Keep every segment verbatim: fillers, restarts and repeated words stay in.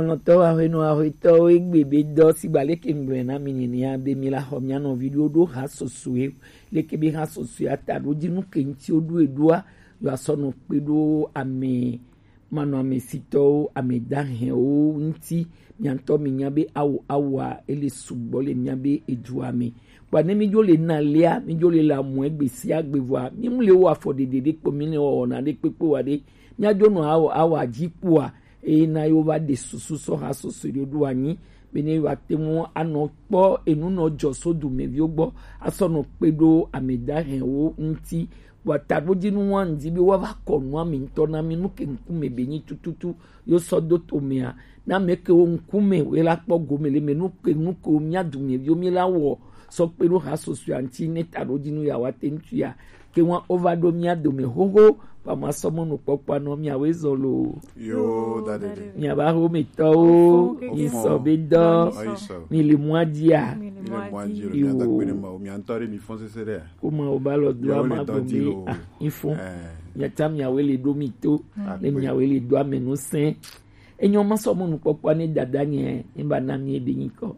Tɔtɔ ahuenɔ ahuetɔwo egbe be dɔ sigba leke ŋgblɔe na mi nenia be mi la xɔ mia nɔvi ɖo ɖo ha sosoe leke be ha sosoe ata ɖo dzi nu ke ŋuti woɖo eɖoa yɔ asɔ nɔ kpe ɖo ame manɔamesitɔwo, ame dahɛwo ŋuti. Mia ŋutɔ minya be awo awoa ele sugbɔ le mia be edua me. Kpɔa ne mi dzo le na lea, mi dzo le la mɔ egbe sia gbe vɔa, mi mu le wo afɔ ɖeɖe ɖe kpɔ, mi le wɔwɔna ɖe kpekpe wa ɖe. Mia dzo nɔ awo awoa dzi kpɔa, eye na yewo va ɖe susu sɔ ha sɔsɔe ɖo ɖo anyi be ne yewoate ŋu anɔ kpɔ enu nɔ dzɔ so dumeviwo gbɔ asɔ nɔ kpe ɖo ame dahɛwo ŋuti. Vɔa taɖodzinu wa ŋdi be woava kɔ nua mi ŋutɔ na mi nu ke ŋkume be nyi tututu yo sɔ do to mea na ame kewo ŋkume wo la kpɔ gome le me nu ke nu kewo mia dumeviwo mi la wɔ sɔ kpe ɖo ha sɔsɔe ŋuti ne taɖodzinu ya wa te ŋuti ya ke ŋua wova ɖo mia dome xoxo. Ba ma sɔ mɔnu kpɔkpɔ anɔ miawoe zɔ lo. Yo, da ɖe ɖe. Miabe axometɔwo, mi sɔ be dɔ, mi le mɔa dzia. Mi le mɔa dzi lo, mia da kpe ne ma o, mia ŋutɔ ɖe mi fɔn sese ɖe. Ko ma o ba lɔ do ama gɔme a, mi fɔn. Mia ta miawoe le ɖo mi to, ne miawoe le do ame nu sɛn. Enyɔ ma sɔ mɔnu kpɔkpɔ ne dada nye, ne ba na mi ebe nyi kɔ.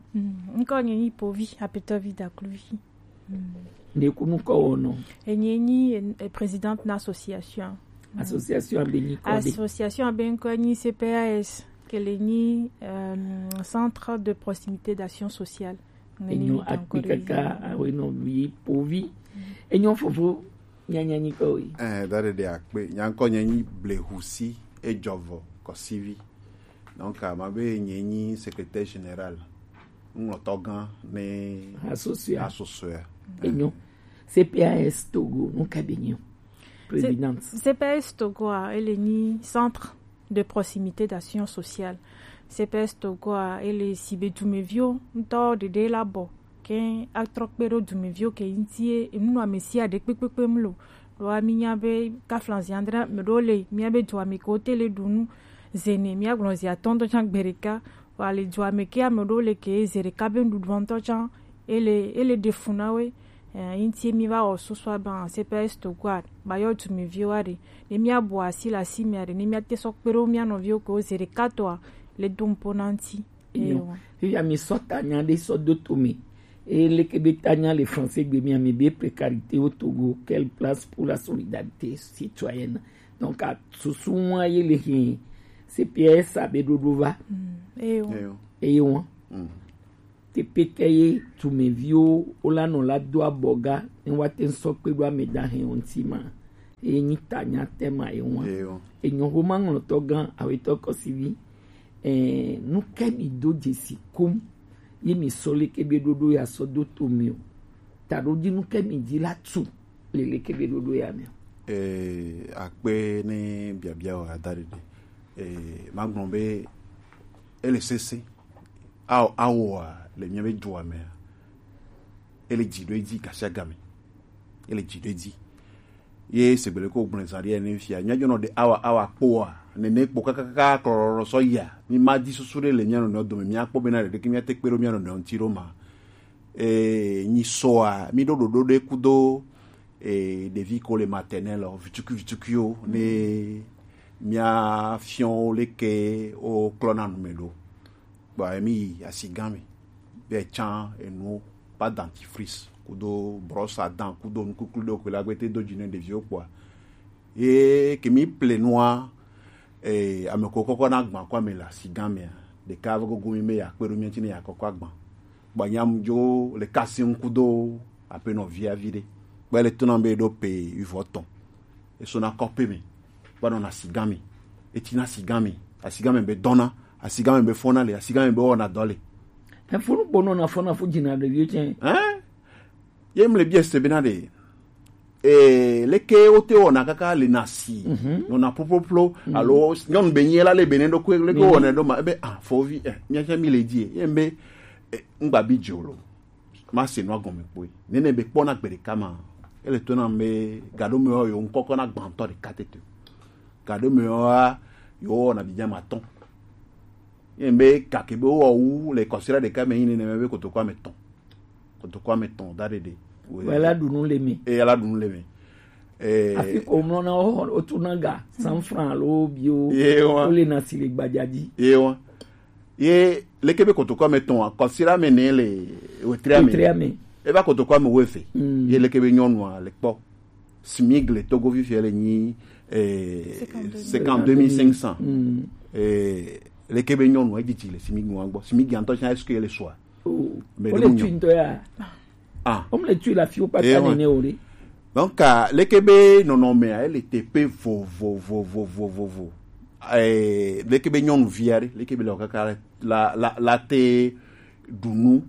Nkɔ nye nyi povi, apetɔvi dakluvi. Ɖe kunu kɔ wɔnɔ. Enye nyi eh, présidente na association. Association abe nyi kɔ de. Association abe nkɔ nyi C P A S, ke le nyi euh, centre de proximité d'action sociale. Enyo akpi kaka awe nɔ vi povi. Enyo fofo nyanya nyi kɔ we. Eh, da ɖe ɖe akpe, nyankɔ nye nyi blehusi ejɔvɔ kɔsivi. Donc, ma be nye nyi secrétaire général, ŋlɔtɔ gã ne asosoea. Enyo. C P A S Togo, nu ka be nyi o. Présidente. C P A S Togo a, ele nyi centre de proximité d'action sociale. C P A S Togo a, ele si be dumeviwo ŋutɔ ɖeɖe la bɔ ke atrɔ kpe ɖo dumeviwo ke ŋuti ye enu nɔ ame sia ɖe kpekpekpe mu lo. Ɖoa mi nya be kaflanzi andre me ɖo le mia be dua me ke wo te le ɖu nu zene mia gblɔ zi atɔ̃ ŋutɔ tsã gbe ɖeka. Wa le dua me ke ame ɖewo le ke ze ɖeka be nuɖuɖua ŋutɔ tsã ele ele ɖe fu na we. Eh, ŋuti mi va wɔ susu abe C P S Togo a ba yɔ dumeviwo aɖe ne mia bu asi le asi mea ɖe ne mia te sɔ kpe ɖo mia nɔviwo ke wo ze ɖeka tɔa le do ŋpo na ŋuti. Eyo. Fifia mi sɔ tanya ɖe sɔ do to me. Eye leke be tanya le français gbe mia mi be précarité au Togo, quelle place pour la solidarité citoyenne? Donc, a susu ŋua ye le hin C P S abe ɖoɖo va. Mm, eyo. Eyo. Eyo. Mm. Te pete ye dumeviwo wo la nɔ la do abɔ ga ne wa te sɔ kpe ɖo ame da hɛn ŋuti ma. Eye nyi tanya tema ye ŋua. Eyo. Enyo homa ŋlɔtɔ gã awetɔ kɔsivi. Eh, nu ke mi do dzesi kum ye mi sɔ leke be ɖoɖo ya sɔ do to mi o? Taɖo dzi nu ke mi dzi la tu le leke be ɖoɖo ya me o? Eh, akpe ne biabia o ada ɖeɖe. Eh, ma gblɔ be ele sese. Ao awoa le mia be dua mea, ele dzi ɖo edzi gasiagame. Ele dzi ɖo edzi. Ye segbe le ko gblẽ zã ɖi ene fia. Mia dzonɔ ɖe awa awa kpoa. Nene kpo kakaka klɔlɔlɔ sɔ yia. Mi ma di susu ɖe le mia nɔnɔewo dome. Mia kpɔ bena ɖeɖeke mia te kpe ɖo mia nɔnɔewo ŋuti ɖo ma. Eh, nyi sɔa, mi ɖo ɖoɖo ɖe kudo, eh, ɖevi ko le maternelle, vitukui vitukuiwo, ne mia fiɔ wo leke wo klɔna nu me ɖo. Kpɔa mi yi asigã me. Be tsã enu, pas dentifrice, kudo brosse à dents, kudo nukuklu ɖewo ko la gbete do dzi ne ɖeviwo kpɔa. Ye ke mi ple nua, eh, ame ko kɔkɔ na gbã kɔ ame le asigã mea. Ɖeka va gogo mi be ya kpe ɖo mi ŋuti ne ya kɔkɔ agbã. Kpɔa nyam dzo le kasi ŋku do aƒenɔ via vi ɖe. Kpɔa le tona be ɖo pe wivɔ tɔn. Esona kɔƒe me, va nɔna asigã me. Etina asigã me. Asigã me be dɔna, asigã me be fɔna le, asigã me be wɔna dɔ le. Efunu kpo nɔna fɔna fu dzina ɖeviwo tsɛ. Hein? Ye mle bia se bena ɖe. Eh, leke wote wɔna kaka le na si. Mhm. Nɔna ploploplo. Mhm. Alo nyɔnu be nyi la le be ne ɖo ko leke wɔna ɖo ma ebe ah fovi eh mia tsɛ mi le di. Ye be eh, ŋgba bi dzo lo. Ma se nua gɔme kpoe. Nene be kpɔna gbe ɖeka ma. Ele to na be gaɖo me yo ŋkɔkɔ na gbãtɔ ɖeka tete. Gaɖo me yo a yo na bi jama tɔn. Ye be kake be wo wu le kɔsira ɖeka me yin nene be kotoko ame tɔn. Kotoko ame tɔn da ɖeɖe. Wela ɖu nu le me. E yala ɖu nu le me. Eh, afi ko mlɔ na wo wo tu na ga cent francs alo bio. Ye wa. Wo le na si le gbadza dzi. Ye wa. Ye leke be kotoko ame tɔn a, kɔsira me ne le wetri ame. Wetri ame. E va kotoko ame weve. Mm. Ye leke be nyɔnua le kpɔ. Smig le Togo fifia le nyi, eh, cinquante-deux mille cinq cents. Mm. Eh, leke be nyɔnua e didi le smig nua gbɔ. Smig antɔ chan, est-ce que le soa? Oh. Mais o le le tu ntɔ ya. Ah. O le tu la fi o pa ta nene o re. Donc, ah, leke be nɔnɔme a, ele te pe vovovovovovo. Eh, leke be nyɔnuvi a ɖe, leke be le kaka la, la, la te ɖu nu,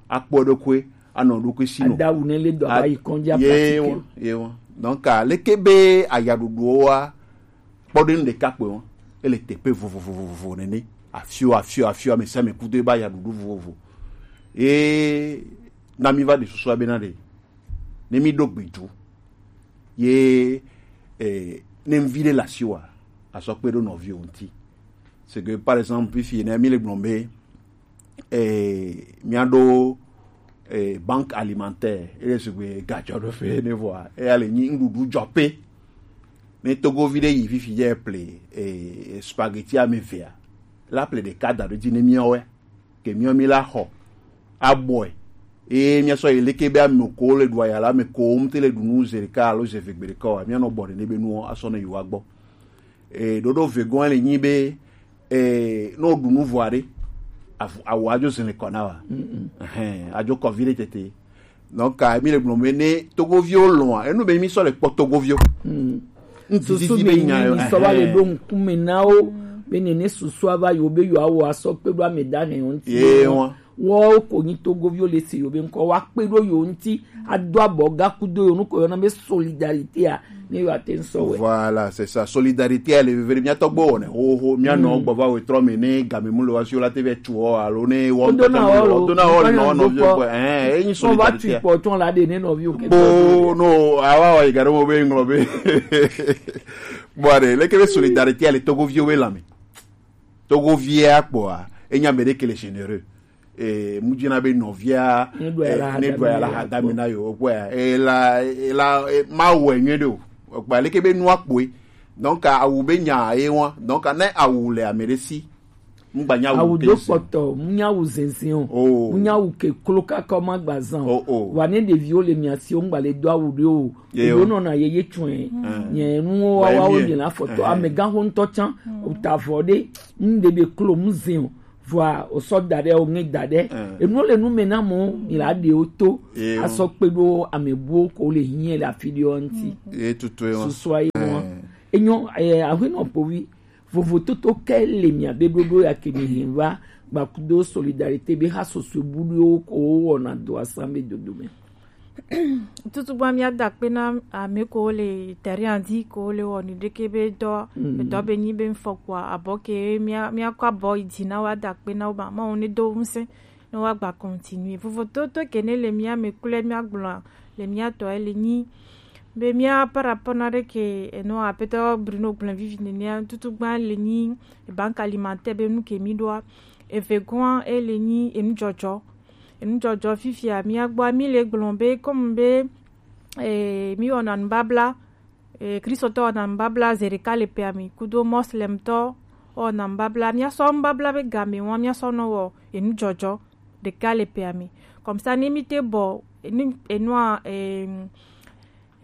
akpɔ eɖokui, anɔ eɖokui si nɔ. Adawu ne le dɔ a, va yi kɔndzi a pratique. Ye wa, ye wa. Donc, ah, leke be ayaɖuɖuwo wa, kpɔɖenu ɖeka kpɔe wa, ele te pe vovovovovo nene. Afio, afio, afio, ame sia ame kudo ebe ayaɖuɖu vovovo. Ye na mi va ɖe susua bena ɖe, ne mi ɖo gbidu, ye, eh, ne ŋvi ɖe le asiwòa, asɔ kpe ɖo nɔviwo ŋuti. C'est que, par exemple, fifi ne mi le gblɔm be, eh, miaɖo, eh, banque alimentaire, eye sigbe gadzɔ ɖo fe ne vɔa, eya le nyi nuɖuɖu dzɔ pe. Ne togovi ɖe yi fifi dze ple, eh, spaghetti ame evea, la ple ɖeka da ɖo dzi ne miawoe. Ke miɔ mi la xɔ abɔe. Eye miasɔ yi leke be ame ko le ɖu aya la, ame ko ŋute le ɖu nu ze ɖeka alo ze eve gbe ɖeka o, mianɔ bɔ ɖe ne be nuwo asɔ ne yewo agbɔ. E, ɖoɖo vegɔn le nyi be, e, ne woɖu nu vɔa ɖe, avu-, awu adzo zin le kɔ na wa. Ɛhɛn, adzo kɔ vi ɖe tete. Donc, ah, mi le gblɔ be ne togoviwo lɔ̃a, enu be mi sɔ le kpɔ togoviwo. Susu be nya mi sɔ va le ɖo ŋkume na wo, be ne ne susu ava yo be yo awo asɔ kpe ɖo ame da ne yo ŋuti. Ye wa. Wo ko nyi togoviwo le se yo be ŋkɔ wa kpe ɖo yo ŋuti, ado abɔ ga kudo yo nuko yo na be solidarité a, ne yo ate ŋsɔ wɛ. Voilà, c'est ça. Solidarité a le veve mia tɔgbo ne ho ho mia nɔ gbɔ va we trɔ me ne game mu le wa si la te ve tu o alo ne wo do na o lo do na o no no vi ko eh e nyi solidarité. Kpɔ tɔn la de ne nɔviwo ke. Bo no awa wa igaro mo be nglo be. Bon, allez, le kele solidarité a le togoviwo be lame. Togovia kpɔa, enya be de kele généreux. Eh, mu dzina be nɔvia ne ɖo ya la hada mi na yo kpɔa, ela ela ma wɔ nyuie ɖe o. Kpɔa leke be nua kpoe. Donc awu be nya ye wa. Donc ne awu le ame ɖe si, ŋgba nya awu do kpɔtɔ, mu nya awu zinzin o. Oh. Mu nya awu ke klo kaka ma gba zan. Oh, oh. Wa ne ɖeviwo le mia si o, ŋgba le do awu ɖe o. Ye o nɔna ye ye tsɔe. Nye nuwo wa wa wo le la fɔtɔ amega ho ŋtɔ tsan o ta vɔ ɖe. Ŋde be klo mu zin o. Vɔa o sɔ da ɖe o ŋe da ɖe. Enu le nu me na mo mi la ɖe o to. Ye o. Asɔ kpe ɖo ame buwo ko le hiɛ le afi ɖe o ŋti. Ye tutu ye wa. Susua ye wa. Enyo eh, ahui nɔ povi. Vovototo ke le mia be ɖoɖo ya ke mi hin va gbakudo solidarité be ha sosue buɖuwo ko wɔna do asan be dodo me. Tutu gba mia da kpe na ame ko le terrain dzi ko le wɔ ni ɖeke be dɔ, dɔ be nyi be ŋfɔ kpɔa abɔ ke mia mia kɔ abɔ yi dzi na wa da kpe na wo ba ma wo ne do ŋusẽ ne wa gba continuer. Vovototo ke ne le mia me kple mia gblɔ le mia tɔ ele nyi be mia par rapport na ɖe ke eno apetɔ Bruno gblẽ vivi nenea tutu gba le nyi banque alimentaire be nu ke mi ɖoa eve gɔa ele nyi enu dzɔdzɔ. Enu dzɔdzɔ fifia mia gbɔ mi le gblɔ be comme be eh, mi wɔna nubabla eh, Kristotɔ wɔna nubabla ze ɖeka le pea mi kudo moslemtɔ wɔna nubabla mia sɔ nubabla be game wa mia sɔ nɔ wɔ enu dzɔdzɔ ɖeka le pea mi. Comme ça ne mi te bɔ enu enua eh,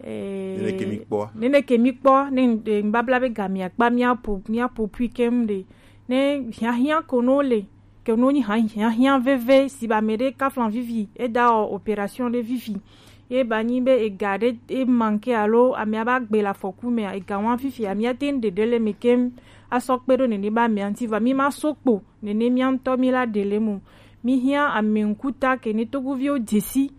Nene ke mi kpɔ. Nene ke mi kpɔ ne nubabla be gamia kpa mia po mia po pui kem ɖe ne hiahiã ko no le ke no nyi hiahiã veve si ba me ɖe kaflan vivi e da o opération ɖe vivi ye ba nyi be ega ɖe e manke alo amea ba gbe le afɔku mea ega wa vivi amea te ŋ ɖeɖe le me kem asɔ kpe ɖo nene ba mea ŋti va mi ma so kpo nene mia ŋtɔ mi la ɖe le mo mi hiã ame ŋkuta ke ne togoviwo dzesi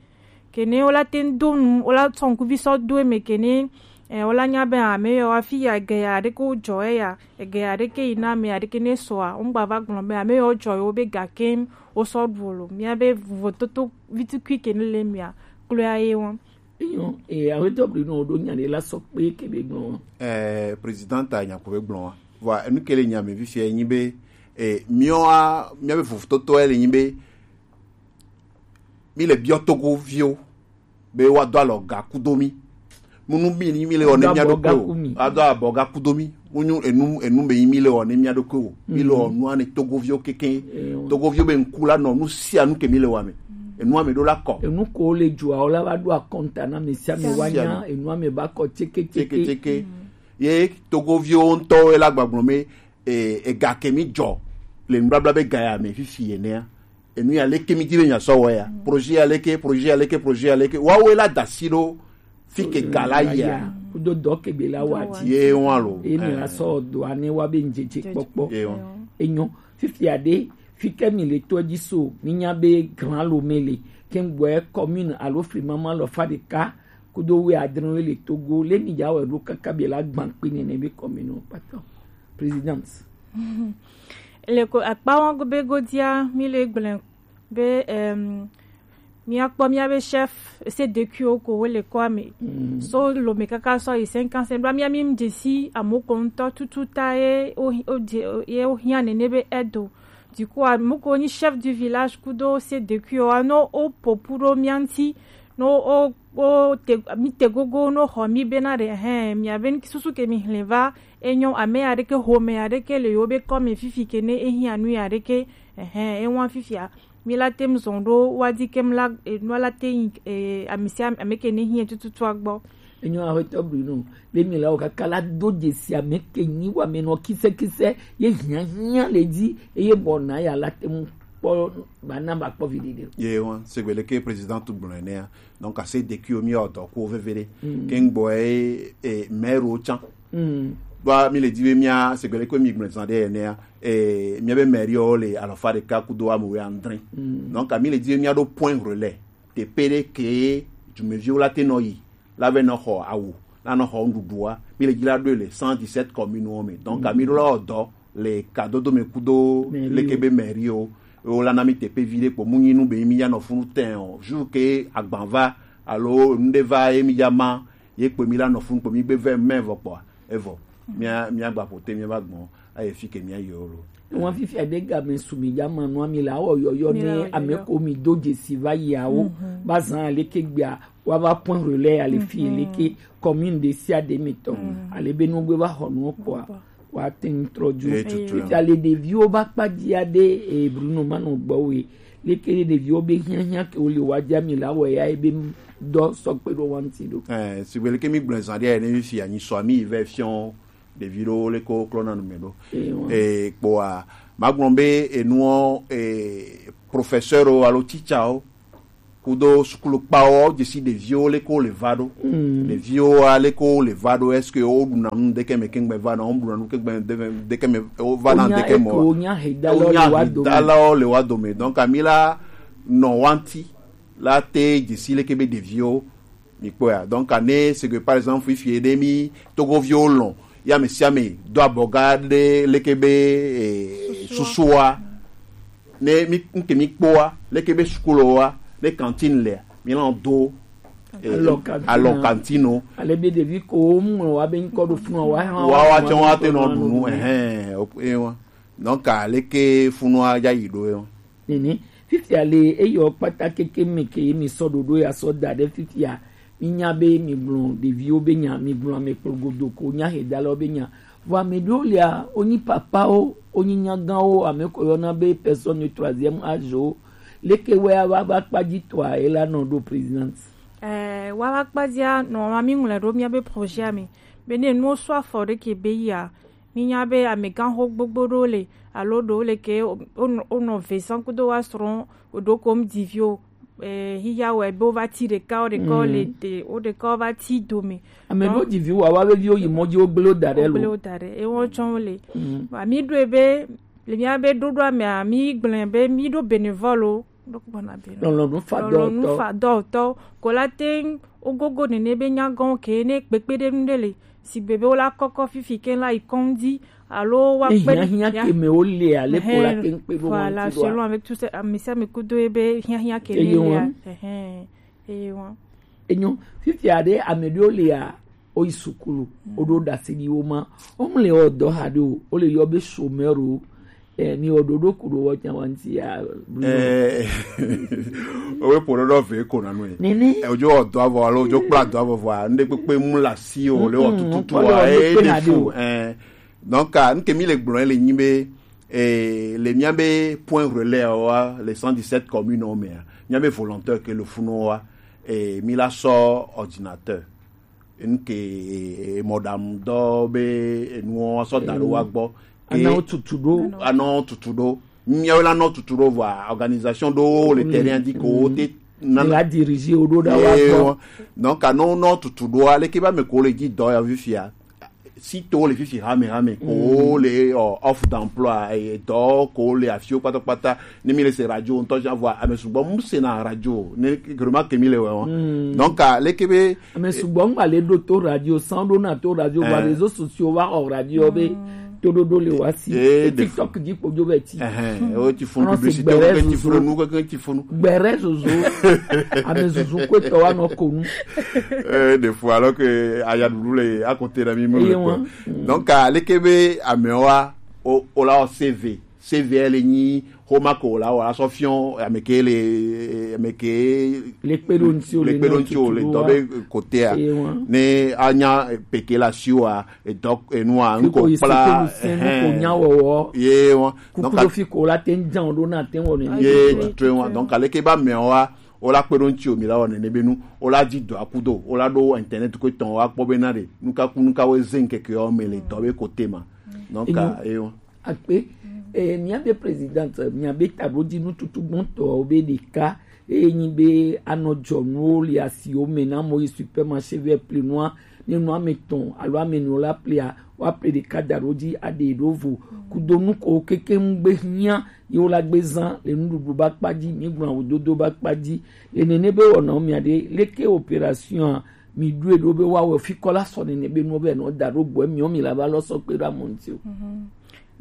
Kene wola te ŋ do nu, wola sɔ ŋkuvi sɔ do eme kene, eh, wola nya be ame yɔ wa fi ya ege ya ɖeke wo jɔ eya, ege ya ɖeke yi na ame ya ɖeke ne sɔa, wo ŋgba va gblɔ be ame yɔ jɔ yewo be gake wo sɔ ɖu o lo. Mia be vovototo vitukui kene le mia, kloe ye wɔn. Enyɔ, eh, aƒetɔ Bruno ɖo nya ɖe la sɔ kpe ke be gblɔ. Eh, président ta nya ko be gblɔ wa. Vɔ, enu ke le nya me fifia nyi be, eh, miɔ a, mia be vovototo le nyi be, mi le biɔ Togoviwo be woado alɔ ga kudo mi. Munu mi ni mi le wɔ ne mia ɖo kpe o. Ado abɔ ga kudo mi. Wonyo enu enu be yi mi le wɔ ne mia ɖokui o. Mi le wɔ nua ne togoviwo keke. Togoviwo be ŋku la nɔ nu sia nu ke mi le wɔ me. Enua me ɖo la kɔ. Enu ko le dzua o la va ɖo akɔnta na me sia me wa nya enua me ba kɔ tseke tseke. Tseke tseke. Ye togoviwo ŋutɔ la gbagblɔ me e, ega ke mi dzɔ le nubabla be ga ya me fifi enea. Enu ya leke mi di be nya sɔ wɔ ya. Projet ya leke, projet ya leke, projet ya leke. Wawe la dasi ɖo fi ke ga la ya. Kudo dɔ ke be la wa ti. Ye wan lo. E mi la sɔ do ane wa be njeje kpɔkpɔ. Ye wan. Enyo. Fifi aɖe, fi ke mi le tɔ dzi so, mi nya be Grand Lomé le. Ke ŋgbɔɛ commune alo flimama lɔ fa ɖeka kudo we adre we le Togo. Le mi dza wɛ ɖo kaka be la gban kpe nene be commune kpata. Présidente. Le ko akpa wan go be godia mi le gblẽ be em, míakpɔ míabe chef C D Q wo ko wole kɔa me. So Lomé kaka sɔ yi cinq ans, ɖoa mía mi dzesi amoko ŋutɔ tutu ta ye wo ye wo hiã nene be edo. Du coup, amoko nyi chef du village kudo C D Q wa no o popu ɖo mía ŋuti no o o te mi te gogo no xɔ mi bena ɖe hɛn mia be susu ke mi hlẽ va enyo ame aɖeke home aɖeke le yo be kɔme fifi ke ne ehiã nu aɖeke hɛn ewa fifia mi la tem zɔn ɖo wa di kem la enua la te yi eh, amisia ameke ne hiã tututua gbɔ. Enyo aƒetɔ Bruno, be mi la wo kaka la do dzesi ame ke nyi wa me nɔ kise kise ye hiã hiã le dzi eye bɔ na ya la tem kpɔ ba na ba kpɔ vi ɖeɖe. Ye wan segbe leke président tu gblɔ enea. Donc à ces décuis mi ɔdɔ ko vevere ke ŋgbɔ e e maire o tsan. Ba mi le di be mia segbe leke mi gblɔ zan de enea e mia be maire o le alɔfa ɖeka kudo ame we andre. Donc mi le di be mia ɖo point relais teƒe ɖe ke dumeviwo la te nɔ yi la vɛ nɔ xɔ awu la nɔ xɔ nuɖuɖua mi le dzi la ɖoe le cent dix-sept communes wo me donc ami ɖo la wɔ dɔ le kadodo me kudo leke be mairie wo wo la na mi teƒe vi ɖe kpo mu nyi nu be mi ya nɔ funu tɛn o jour ke agban va alo nu ɖe va ye mi ya ma ye kpo mi la nɔ funu kpo mi gbe vɛ mɛ vɔ kpɔa evɔ mia mia gba ƒote mia va gbɔn aye fi ke mia yi o lo. Wọn fifia ɖe game su mi dza ma nua mi la wɔ yɔyɔ ne ame ko mi do dzesi va yiawo va zan aleke gbea wa va point relais ale fi leke commune ɖe sia ɖe mi tɔ ale be nugbe va xɔ nuwo kpɔa wa te ŋu trɔ dzo. Fifia le ɖeviwo va kpa dzia ɖe e Bruno manɔ gbɔ we leke ɖe ɖeviwo be hiahiã ke wo le wa dza mi la wɔ ya ebe dɔ sɔgbe ɖo wa ŋuti ɖo. Sigbe leke mi gblɔ zan ɖe ne mi fia nyi sɔ mi yi vɛ fiɔ ɖevi ɖewo leke wo klɔna nu me ɖo. Ee kpoa magblɔ be enuɔ ee professeur o alo teacher o kudo sukulu kpawo dzesi ɖeviwo leke wo le va ɖo. Ɖeviwo a leke wo le va ɖo est-ce que wo ɖuna nu ɖeke me kengbe va na wo ɖuna nu kengbe ɖeke me wo va na ɖeke me wa wonya hedalawo le wa dome donc ami la nɔ wanti la te dzesi leke be ɖeviwo mi kpɔa donc ne c'est que par exemple fifie ɖe mi togoviwo lɔn ya ame sia ame do abɔga ɖe leke be eh, susua ne mi nke mi kpɔa leke be sukulowa ne cantine lea mi lɔn do eh, alɔ cantine o ale be ɖevi ko ŋlɔ wa be ŋkɔ ɖo funu wa hã wa wa tsɛ wa te nɔ ɖu nu ɛhɛn o e wa donc aleke funua ya yi ɖo e wa nene fifia le eyɔ kpata keke me ke mi sɔ ɖoɖo ya sɔ da ɖe fifia mi nya be mi gblɔ ɖeviwo be nya mi gblɔ ame kplɔ godo ko nya he da lɔ be nya vɔ ame ɖewo lia wonyi papawo wonyi nyagãwo ame ko yɔna be personne de troisième âge o leke wɛ ava va kpa dzi tɔa ela nɔ ɖo présidente. Ɛɛ wa va kpa dzia nɔ ma mi ŋlɔ ɖo mia be projet me be ne nuwo sɔ afɔ ɖe ke be yia Mínya be amegãxo gbogbo ɖewo le alo ɖewo le ke wonɔ ve zan kudo woa srɔ̃ woɖo kom diviwo. Xixia wɔe be wova ti ɖeka wo ɖeka wo le te wo ɖeka wova ti dome. Ame ɖewo diviwo wa wa veviwo yi mɔ dzi wogble wo da ɖe lo. Wogble wo da ɖe eye wotsɔ wo le. Vɔa mí ɖoe be le mía be ɖoɖoa mea mí gblɔe be mí ɖo bénévole o. Lɔlɔ̃nu fa dɔwɔtɔ. Lɔlɔ̃nu fa dɔwɔtɔ. Ko la te ŋu wogogo nene be nyagɔ̃wo ke ne kpekpeɖeŋu ɖe le sigbe be wola kɔkɔ fifi ke la yi kɔŋdi alo woakpe ɖe hiahiã ke me wolea leko la ke ŋkpe ɖo ŋuti ɖoa. Voilà, selon avec tout ça ame sia ame kudo ye be hiahiã ke ne lea. Eye wa. Enyo. Fifia ɖe ame ɖewo lea woyi sukulu woɖo ɖasi ɖi wo ma womle wɔ dɔ ha ɖe o wole yɔ be chômeur o. Eh, mi wɔ ɖoɖo ku ɖo wɔ nya wa ŋuti ya. Eh, owe po ɖoɖo ve ko na nu. Nene. Eh, ojo wɔ dɔ avɔ alo ojo kpla dɔ avɔ vɔ a nde kpekpe mu la si o le wɔ tututu wa e de fu. Eh, Donc, ah, nu ke mi le gblɔ le nyi be, eh, le mia be point relais wa, le cent dix-sept commune o mea, mia be volontaire ke le funu wa, eh, mi la sɔ ordinateur. Nu ke, eh, mɔɖaŋudɔ be enuwo sɔ da ɖo wa gbɔ. Anɔ tutu ɖo. Anɔ tutu ɖo. Miawo la nɔ tutu ɖo vɔa, organisation ɖo le terrain di ko wo te nana. La dirige wo ɖo ɖa wa gbɔ. Donc, anɔ nɔ tutu ɖo, aleke ba me ko le dzi dɔ ya fifia. Si to le fifi hame hame ko le, ɔ, offre d'emploi, e, dɔ ko le afio kpata kpata. Ne mi le se radio ŋutɔ sia vɔa, ame sugbɔ mu se na radio. Ne remarque mi le wɛ wɔn. Donc, aleke be ame sugbɔ ŋgba le ɖo to radio, san ɖo na to radio, vɔa réseaux sociaux va xɔ radio be toɖoɖo le wa si. Eh, TikTok dzi kpodzo be ti. Ɛhɛn, o ti funu publicité, o ti funu nu, keke ti funu. Gbɛrɛ zozo. Ame zuzu ko tɔ wa nɔ ko nu. Eh, des fois, alors que aya ɖuɖu le à côté de mi me. Donc, aleke be ame wa, o, o la o C V. C V le nyi xoma ko la wala sɔ fiɔ ame ke le, ame ke le kpe ɖo ŋuti o le dɔ be kotea. Ne anya peke la si wa edɔ enua ŋkɔ kpla. Ye wa. Kuku ɖo fi ko la te ŋ jan ɖo na te wɔ ne. Ye tutu wa. Donc, aleke ba mɛ wa, o la kpe ɖo ŋuti o mi la wɔ nene be nu, o la di dɔ akudo, o la ɖo internet ko tɔn wa kpɔ be na ɖe nuka ku nuka wo ze ŋkeke yɔ me le dɔ be kote ma. Donc, e wa. Akpe, eh, miabe présidente, miabe taɖodzi nututu gbɔntɔwo be ɖeka, eye nyi be anɔ dzɔnuwo le asiwo me na mɔ yi supermarché vɛ ple nua, ne nu ame tɔn alo ame nɔ la plea, wa ple ɖeka da ɖo dzi aɖe ɖo vo. Kudo nu ko keke ŋgbe hiã ye wo la gbe zã le nuɖuɖu ba kpa dzi, mi gblɔ awu dodo ba kpa dzi. Le nene be wɔna wo mia ɖe, leke opération a mi ɖoe ɖo be wa wɔ fi kɔ la sɔ nene be nu be nɔ da ɖo gbɔ, mi wo mi la ba lɔ sɔ kpe ɖo amɔ ŋuti o.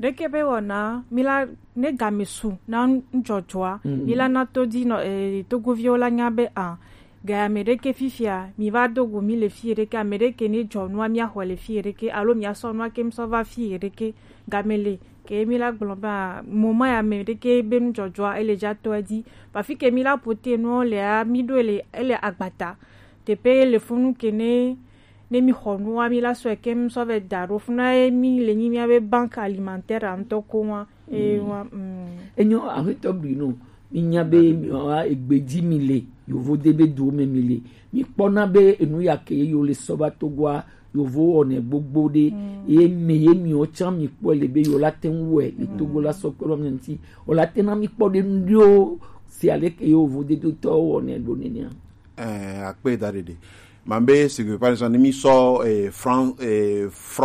Ɖeke be wɔna, mi la ne game su na ŋdzɔdzɔa, mi la na todinɔ, eh, togoviwo la nya be a, ga ame ɖeke fifia, mi va do go mi le fi ɖeke, ame ɖeke ne dzɔ nua mi axɔ le fi ɖeke, alo mi asɔ nua ke mi sɔ va fi ɖeke, game le, ke mi la gblɔ be a, moma ya ame ɖeke be ŋdzɔdzɔa, ele dza tɔ edzi, ba fi ke mi la pote nuwo le a, mi ɖo ele, ele agbata, teƒe le funu ke ne ne mi xɔ nua, mi la sɔe keŋ sɔ vɛ da ɖo funa ye mi le nyi mia be banque alimentaire a ŋutɔ ko wa. Eye wa. Enyo, aƒetɔ Bruno, mi nya be mi wa egbe dzi mi le, yovo de be do me mi le. Mi kpɔna be enu ya ke ye yo le sɔ va Togoa, yovo wɔnɛ gbogbo ɖe. Ye me ye mi wo tsã mi kpɔ le be yo la te ŋu wɛ, ye Togo la sɔ kpe ɖo mi ŋuti. O la te na mi kpɔ ɖe nu ɖewo, si ale ke yovo de do tɔ wɔnɛ ɖo nenea. Eh, akpe da ɖeɖe. Mambe, c'est que, par exemple, ne mi sɔ, eh, franc, eh, franc